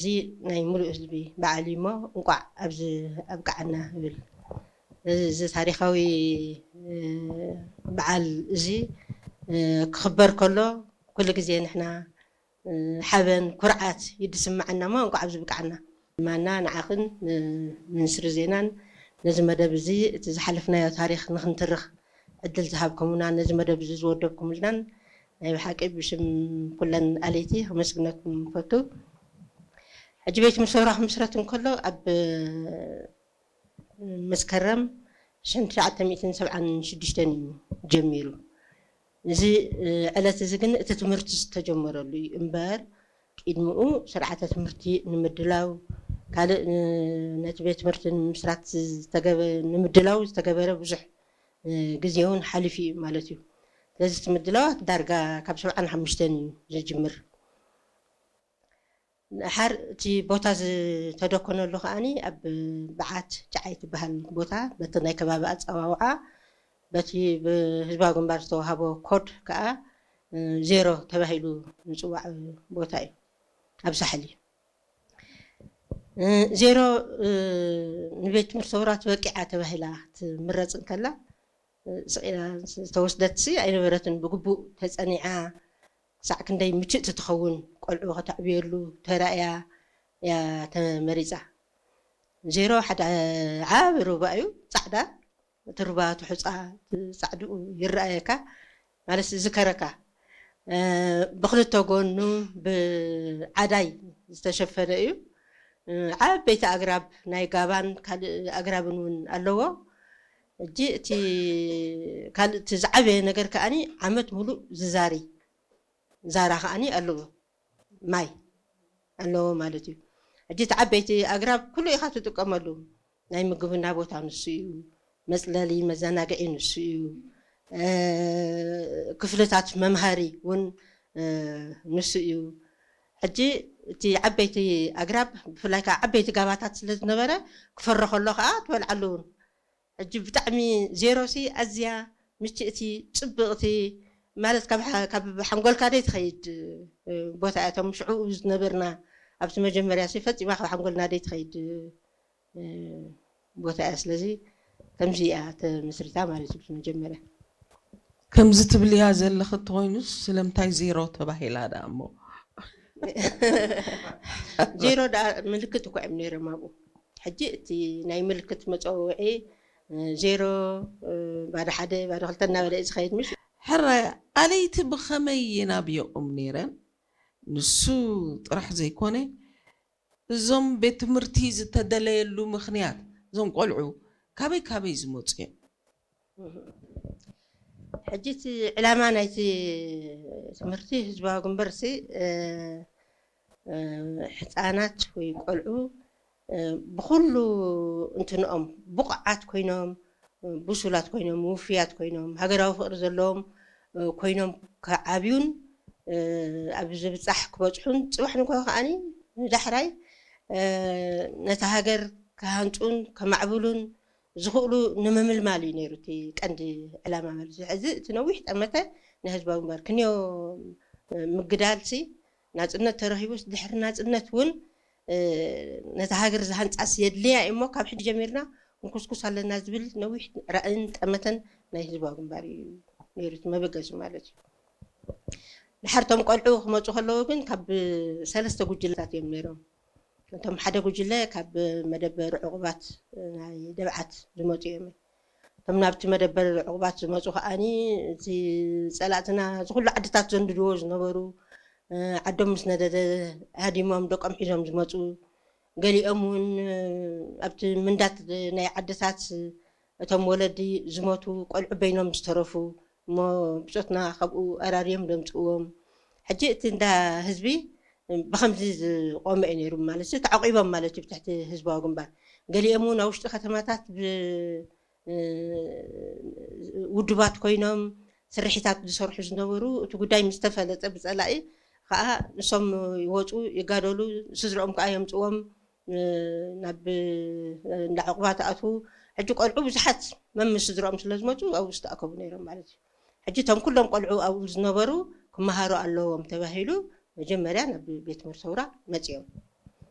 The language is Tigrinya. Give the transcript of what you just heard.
እዚ ናይ ሙሉእ ህዝቢ በዓል እዩ እሞ እንቋዕ ኣብዚ ኣብቅዓና እብል። እዚ ታሪኻዊ በዓል እዚ ክኽበር ከሎ ኩሉ ግዜ ንሕና ሓበን ኩርዓት እዩ ዝስምዓና እሞ እንቋዕ ኣብዚ ብቅዓና። ማና ንዓኽን ሚኒስትሪ ዜናን ነዚ መደብ እዚ እቲ ዝሓለፍናዮ ታሪኽ ንክንትርኽ ዕድል ዝሃብኩምና ነዚ መደብ እዚ ዝወደብኩምልናን ናይ ብሓቂ ብሽም ኩለን ኣለይቲ ከመስግነኩም ፈቱ። ሕጂ ቤት ምሰውራ ክምስረት እንከሎ ኣብ መስከረም ሽሕን ትሽዓተ ሚእትን ሰብዓን ሽዱሽተን እዩ ጀሚሩ። እዚ ዕለት እዚ ግን እቲ ትምህርቲ ዝተጀመረሉ እዩ እምበር ቅድሚኡ ስርዓተ ትምህርቲ ንምድላው ካልእ ነቲ ቤት ትምህርቲ ንምስራት ዝተገበ ንምድላው ዝተገበረ ብዙሕ ግዜ እውን ሓሊፉ እዩ ማለት እዩ። ስለዚ እቲ ምድላዋት ዳርጋ ካብ ሰብዓን ሓሙሽተን እዩ ዝጅምር። ሓር እቲ ቦታ ዝተደኮነሉ ከዓኒ ኣብ በዓት ጨዓይ ትበሃል ቦታ በቲ ናይ ከባቢ ኣፀዋውዓ በቲ ብህዝባዊ ግንባር ዝተዋሃቦ ኮድ ከዓ ዜሮ ተባሂሉ ዝፅዋዕ ቦታ እዩ። ኣብ ሳሕል እዩ። ዜሮ ንቤት ትምህርቲ ሰውራ ትበቂዓ ተባሂላ ትምረፅ እንከላ ስቂላ ዝተወስደትሲ ኣይነበረትን። ብግቡእ ተፀኒዓ ክሳዕ ክንደይ ምችእቲ ትኸውን ቆልዑ ከተዕብየሉ ተራእያ እያ ተመሪፃ። ዜሮ ሓደ ዓቢ ሩባ እዩ ፃዕዳ። እቲ ሩባ እቲ ሑፃ ፃዕድኡ ይረኣየካ ማለት ዝከረካ ብክልተ ጎኑ ብዓዳይ ዝተሸፈነ እዩ። ዓበይቲ ኣግራብ ናይ ጋባን ካልእ ኣግራብን እውን ኣለዎ። እጂ እቲ ካልእ እቲ ዝዓበየ ነገር ከዓኒ ዓመት ሙሉእ ዝዛሪ ዛራ ከዓኒ ኣለዎ ማይ ኣለዎ ማለት እዩ። ሕጂ እቲ ዓበይቲ ኣግራብ ኩሉ ኢኻ ትጥቀመሉ። ናይ ምግብና ቦታ ንሱ እዩ። መፅለሊ መዘናግዒ ንሱ እዩ። ክፍልታት መምሃሪ እውን ንሱ እዩ። ሕጂ እቲ ዓበይቲ ኣግራብ ብፍላይ ከዓ ዓበይቲ ጋባታት ስለ ዝነበረ ክፈሪ ከሎ ከዓ ትበልዓሉ እውን ሕጂ ብጣዕሚ ዜሮ ሲ ኣዝያ ምችእቲ ፅብቕቲ ማለት ካብ ሓንጎልካ ደይ ትኸይድ ቦታ እያ። እቶም ሽዑ ዝነበርና ኣብቲ መጀመርያ ሲ ፈፂማ ካብ ሓንጎልና ደይ ትኸይድ ቦታ እያ። ስለዚ ከምዚ እያ ተመስሪታ ማለት እዩ። መጀመርያ ከምዚ ትብልያ ዘለኺ እንተኾይኑስ ስለምንታይ ዜሮ ተባሂላ ደኣ እሞ? ዜሮ ደኣ ምልክት እኮ እዮም ነይሮም ኣብኡ። ሕጂ እቲ ናይ ምልክት መፀውዒ ዜሮ ባዶ ሓደ ባዶ ክልተ እናበለ እዩ ዝኸይድ ምሽ? ሕራይ ኣለይቲ ብኸመይ የናብየኦም ነይረን? ንሱ ጥራሕ ዘይኮነ እዞም ቤት ትምህርቲ ዝተደለየሉ ምኽንያት እዞም ቆልዑ ካበይ ካበይ ዝመፁ እዮም? ሕጂ እቲ ዕላማ ናይቲ ትምህርቲ ህዝባዊ ግንበርሲ ሕፃናት ወይ ቆልዑ ብኩሉ እንትንኦም ብቑዓት ኮይኖም ብሱላት ኮይኖም ውፍያት ኮይኖም ሃገራዊ ፍቕሪ ዘለዎም ኮይኖም ክዓብዩን ኣብ ዝብፃሕ ክበፅሑን ፅባሕ ንግሆ ከዓኒ ንዳሕራይ ነታ ሃገር ክሃንፁን ከማዕብሉን ዝኽእሉ ንምምልማል እዩ ነይሩ እቲ ቀንዲ ዕላማ ማለት እዩ። ሕዚ እቲ ነዊሕ ጠመተ ናይ ህዝባዊ ግንባር ክንዮ ምግዳል ሲ ናፅነት ተረኺቡስ ድሕሪ ናፅነት እውን ነታ ሃገር ዝሃንፃስ የድልያ እዩ እሞ ካብ ሕጂ ጀሚርና ክንኩስኩስ ኣለና ዝብል ነዊሕ ራእን ጠመተን ናይ ህዝባዊ ግንባር እዩ ነይሩ እቲ መበገሲ ማለት እዩ። ድሓር እቶም ቆልዑ ክመፁ ከለዉ ግን ካብ ሰለስተ ጉጅለታት እዮም ነይሮም። እቶም ሓደ ጉጅለ ካብ መደበር ዕቑባት ናይ ደብዓት ዝመፁ እዮም። እቶም ናብቲ መደበር ዕቑባት ዝመፁ ከዓኒ እቲ ፀላእትና ዝኩሉ ዓድታት ዘንድድዎ ዝነበሩ ዓዶም ምስ ነደደ ሃዲሞም ደቆም ሒዞም ዝመፁ ገሊኦም እውን ኣብቲ ምንዳት ናይ ዓድታት እቶም ወለዲ ዝሞቱ ቆልዑ በይኖም ዝተረፉ እሞ ብፆትና ካብኡ ኣራርዮም ደምፅዎም። ሕጂ እቲ እንዳ ህዝቢ ብከምዚ ዝቆመ እዩ ነይሩ ማለት እዩ። ተዓቂቦም ማለት እዩ ብትሕቲ ህዝባዊ ግንባር። ገሊኦም እውን ኣብ ውሽጢ ከተማታት ውድባት ኮይኖም ስርሒታት ዝሰርሑ ዝነበሩ እቲ ጉዳይ ምስ ተፈለጠ ብፀላኢ ከዓ ንሶም ይወፁ ይጋደሉ ስድረኦም ከዓ የምፅዎም ናብ እንዳ ዕቑባት ኣትዉ። ሕጂ ቆልዑ ብዙሓት መምስ ስድረኦም ስለ ዝመፁ ኣብኡ ዝተኣከቡ ነይሮም ማለት እዩ። ሕጂ እቶም ኩሎም ቆልዑ ኣብኡ ዝነበሩ ክመሃሩ ኣለዎም ተባሂሉ መጀመርያ ናብ ቤት ትምህርቲ ሰውራ መፅዮም።